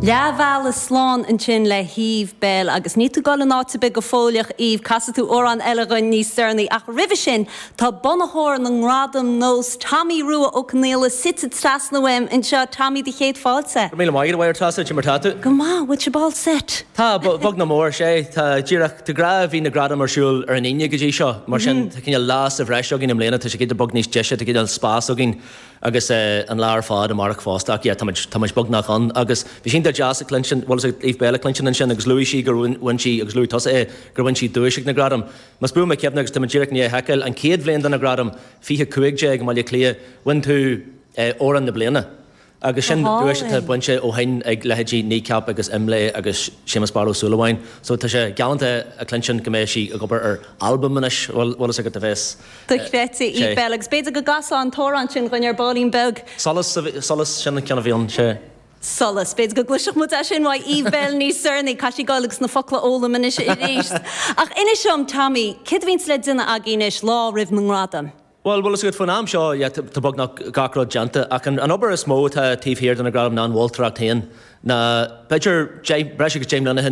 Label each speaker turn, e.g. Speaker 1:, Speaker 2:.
Speaker 1: Leath bhealaigh slán ansin le hEve Belle agus níl tú ag dul in áit ar bith go fóilleach Eve, casfaidh tú amhrán eile dhuinn níos deireanaí ach roimhe sin tá bunaitheoir na nGradam Nós, Tommy Rua Ó Conaola suite trasna uaim anseo. Tommy, do chéad fáilte.
Speaker 2: Go raibh míle maith agat, a Mháire Treasa, cad é mar tá tú?
Speaker 1: Go maith, bhfuil sibh all set?
Speaker 2: Tá, beag nach mór, sea. Tá díreach, de ghnáth bhí na gradaim ar siúl ar an Aoine go dtí seo, mar sin tá cineál lá sa bhreis againn i mbliana, tá sé giota beag níos deise, tá cineál spás againn agus an lá ar fad amárach fosta ach yeah tá muid, tá muid beagnach ann agus bhí sé iontach deas a chluinstin, bhuel is ag Eve Belle a chluinstin ansin agus luaigh sí gur bhain sí, agus luaigh tusa é, gur bhain sí duais ag na gradaim. Más buan mo chuimhne agus tá mé díreach i ndiaidh a sheiceáil, an chéad bhliain de na gradaim, 2015 i mBaile Átha Cliath, bhain tú Amhrán na Bliana. Agus sin duais atá bainte ó shin ag leithéidí Kneecap agus Imlé agus Séamus Barra Ó Súilleabháin. So tá sé galánta a chluinstin go mbeidh sí ag obair ar albam anois, bhfuil fhios agat a bheas
Speaker 1: Dochreidte, Eve Belle. Agus b'fhéidir go gcasfá an t-amhrán sin dhuinn ar baillín beag.
Speaker 2: Solas, Solas, sin an ceann a bhí ann, sea.
Speaker 1: Solas. B'fhéidir go gcloisfeadh muid é sin uaidh Eve Belle níos deireanaí. Caithfidh sí dul agus na focla a fhoghlaim anois arís. Ach inis dom, Tommy, céard a bhíonns le déanamh agaibh anois lá roimh na ngradaim?
Speaker 2: Bhuel, bhfuil fhios agat, faoin am seo, yeah, tá beagnach gach rud déanta, ach an obair is mó atá taobh thiar de na gradaim ná an mholtóireacht féin. Ná, b'fhéidir, breis agus 10 mbliana ó shin.